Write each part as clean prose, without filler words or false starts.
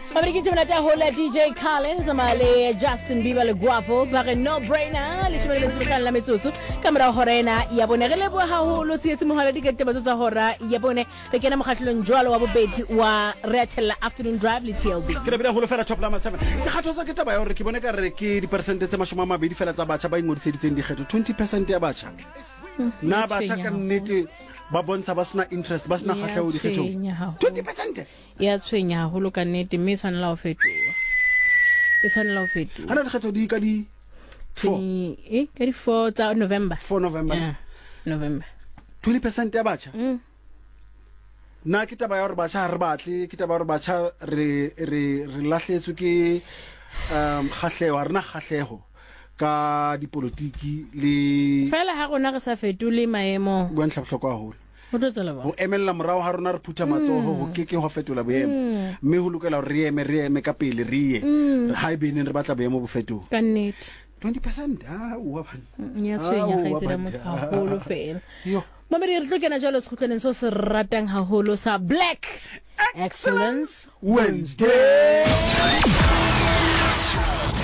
Babedi ke tšemonate haholo ya DJ Khaled tsamaya le Justin Bieber le Guapo ba re no brainer leshome le metso mehlano la metsotso ka morago hora ena ya bone. Re leboha haholo Tsietsi Mohala diketebetso tsa hora ya bone. Re kena mokgahlelong jwalo wa bobedi wa Re a Thella Afternoon Drive le TLB. Ke lebile haholo fela Top Lama 7. Ke kgathotswa ke taba ya gore ke bone ka re ke diperesente tse 20 fela tsa batjha ba ingodiseditseng dikgetho. 20 percent ya batjha. Na batjha ka nnete ba bontsha ba sena interest, ba sena kgahleho dikgethong? 20 percent. Ya tshwenya haholo ka nnete mme e tshwanela ho fetoha. E tshwanela ho fetoha. Hana dikgetho di ka di 4. Eh, ka di 4 tsa November. 4 November. Yeah, November. 20 percent ya batjha. Na ke taba ya gore batjha ga re batle, ke taba ya gore batjha re re re lahletswe ke um kgahlego, ga rena kgahlego ka dipolotiki le Fela ha rona re sa fetole maemo. Bua ntlha bohlokwa haholo. Ho tlo tswela Ho emella morao ha rona re phutha matsoho ho ke ke hwa fetola boemo. Mme ho lokela hore re eme, re eme ka pele re ye. Ha ebe neng re batla boemo bo fetohe. Ka nnete. 20 percent, aowa banna. Ya tshwenya Aowa kgaitsedi ya banna. motho haholo fela. Yo. Mamedi re tlo kena jwalo sekgutlwaneng seo se ratang haholo sa Black Excellence Wednesday.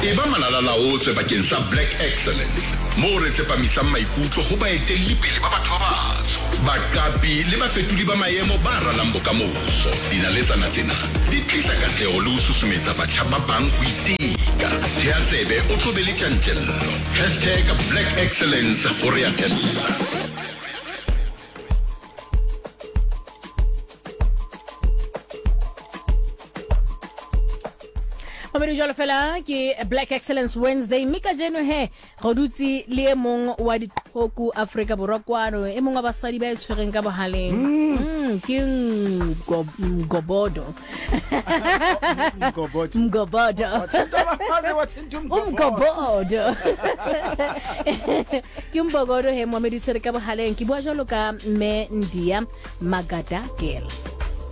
Eba malalalaotswe bakeng sa Black Excellence, moo re tsepamisang maikutlo ho baetelli pele ba batho ba batsho, baqapi le bafetodi ba maemo ba ralang bokamoso. Dinaletsana tsena di tlisa katleho le ho susumetsa batjha ba bang ho iteka. Thea tsebe o tlo be le tjantjello. Hashtag Black Excellence ho re atella. Mamedi jalo fela ke Black Excellence Wednesday mme kajeno he re dutse le e mong wa diqhoku Afrika Borwa kwano, e mong wa basadi ba e tshwereng ka bohaleng. Ke Mgobodo. Mgobodo. Mgobodo. Umgobodo. Ke Mbogodo he moamedi tshwere ka bohaleng. Ke bua jwalo ka mme Ndia Magadagela.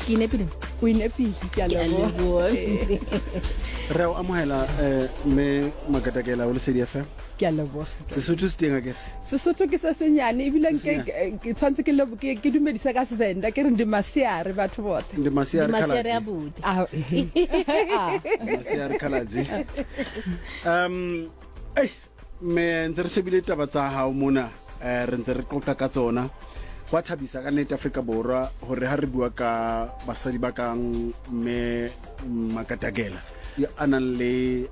Ke inepile? O inepile, ke a Ke a leboha. leboha. Re a o amohela eh, mme Magadagela o Lesedi FM. Ke a leboha. Sesotho se teng akere? Sesotho ke se senyane ebile nke ke tshwanetse ke lebo- ke ke dumedise ka Sevenda ke re ndi masiare batho bothe. Ndi masiare Ndi masiare khaladzi. a bodi. Ah, ehe. Ah. Masiare khaladzi. Um ei mme ntse re shebile taba tsa hao mona eh, re ntse re qoqa ka tsona. Hwa thabisa ka nnete Afrika Borwa hore ha re bua ka basadi ba kang mme Makadagela ya a nang le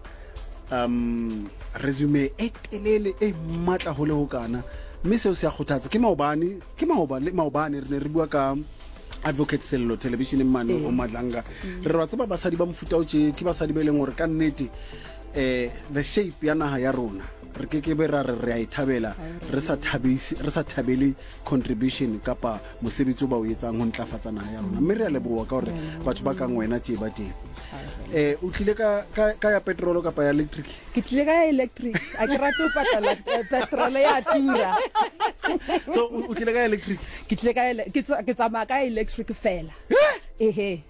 um resume e telele e matla ho le ho kana, mme seo se a kgothatsa. Ke maobane, ke maobane, maobane re ne re bua ka Advocate Sello televisioneng mane o Madlanga. Re re wa tseba basadi ba mofuta o tje ke basadi ba e leng hore ka nnete eh the shape ya naha ya rona re ke ke be ra re re a e thabela re sa thabise, re sa thabele contribution kapa mosebetsi o ba o etsang ho ntlafatsa naha ya rona. Mme re a leboha ka hore batho ba kang wena tje ba teng. Eh o tlile ka ka ka ya petrol kapa ya electric? Ke tlile ka ya electric. A ke rate ho patala petrol ya tura. So o tlile ka ya electric? Ke tlile ka ke ke tsamaya ka electric fela. Ehe.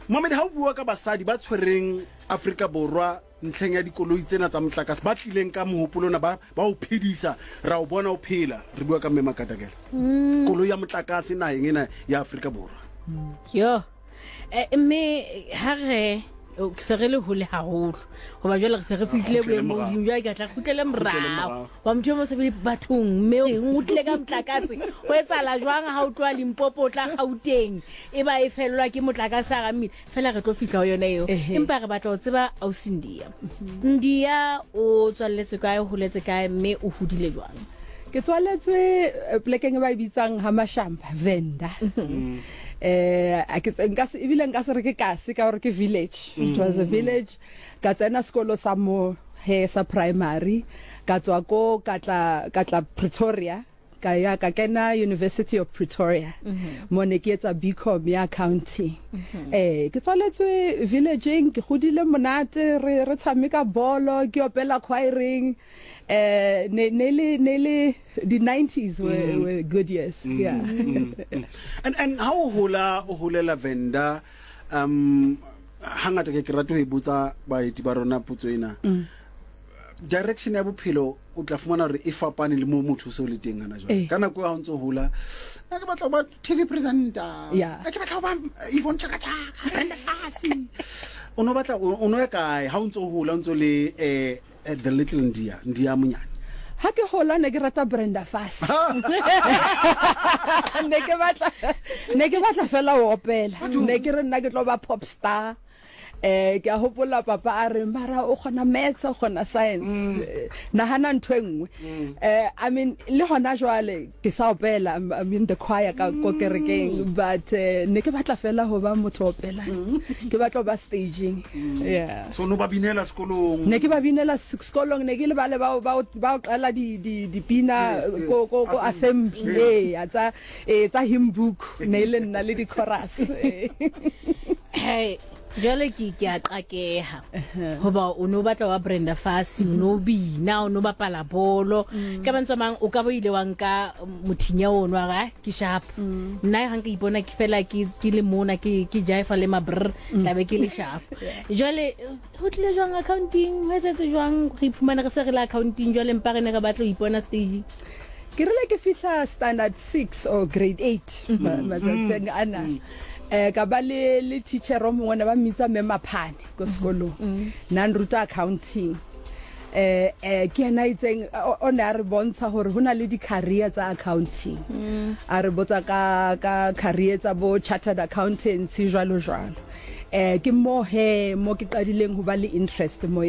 Mohammed, ha o bua ka basadi ba tshwereng Afrika Borwa ntlheng ya dikoloi tsena tsa motlakase, ba tlileng ka mohopolo ona ba ba o phedisa, ra o bona o phela, re bua ka Mme Makatakela. Koloi ya motlakase naheng ena ya Afrika Borwa. Yo. Eh, mme ha re se re le hole haholo goba jwale re se re fihlile Kgutlele boemong morao. jwale ke tla kgutlele Kgutlele morao morao. wa motho yo mo sebedi bathong mme o tlile ka motlakase go etsala jwang ha o tloha Limpopo o tla Gauteng e ba e fellwa ke motlakase a ga mmila fela re tlo fihla ho yona eo. Ehe. Empa re batla ho tseba ausi Ndia. Ndia o tswalletse kae, o holetse kae mme o hodile jwang? Ke tswaletswe polekeng e ba e bitsang ha Mashamba, Venda. Eh, a ke tse- nka se ebile nka se re ke kasi ka gore ke village. It was a village. Ka tsena sekolo sa mo he sa primary, ka tswa ko ka tla ka tla Pretoria. Ka ya ka kena University of Pretoria mo ne ke etsa BCom ya accounting. Eh ke tswaletswe villageng, ke godile monate, re re tshameka bolo, ke opela choireng. Eh ne ne le ne le di 90s were good years. Yeah. And ha o hola o holela Venda, um hangata ke ke rata ho e botsa baeti ba rona potso ena. Direction ya bophelo o tla fumana hore e fapane le moo motho o se o le teng hana jwale. Ka nako eo ha o ntso hola, nna ke batla ho ba TV presenter, Yeah. nna ke batla ho ba Yvonne Chaka Chaka, Brenda Fassie. O no batla, o no ya kae ha o ntso hola, o ntso le eh, the little Ndia, Ndia monyane? Ha ke hola ne ke rata Brenda Fassie. Ne ke batla, ne ke batla fela ho opela. Ne ke re nna ke tlo ba pop star. Eh ke a hopola papa a re mara o kgona maths o kgona science mm. Eh, nahana ntho e nngwe mm. eh I mean le hona jwale ke sa opela I'm, I'm in the choir ka ko mm. kerekeng but eh, ne ke batla fela ho ba motho opela ke batla ho ba staging yeah so no ba binela sekolong ne ke ba binela sekolong ne ke le bale ba ba ba qala di di dipina ko ko ko assembly eh tsa eh tsa hymn book ne le nna le di chorus hey jwale ke ke a qakeha hoba o no batla wa Brenda Fassie o no bina o no bapala bolo mm. ka mantswe mang o ka bo ile wa nka mothinya ono wa ah, ke sharp mm. nna ga nka ipona ke fela ke ke le mona ke ke jaifa le mabrr mm. tlabe ke le sharp jwale ho tlile jwang accounting ho etsetse jwang re iphumane re se re le accounting jwale mpa re ne re batla ho ipona stage Ke rile ke fihla standard 6 or grade 8 matsatsing ana eh ka ba le le teacher o mongwe ne ba mmitsa mme Maphane ko sekolong na nruta accounting eh eh ke yena itseng o ne a re bontsha hore ho na le di-career tsa accounting a re botsa ka ka career tsa bo chartered accountancy jwalo jwalo eh ke mo he mo ke qadileng ho ba le interest mo.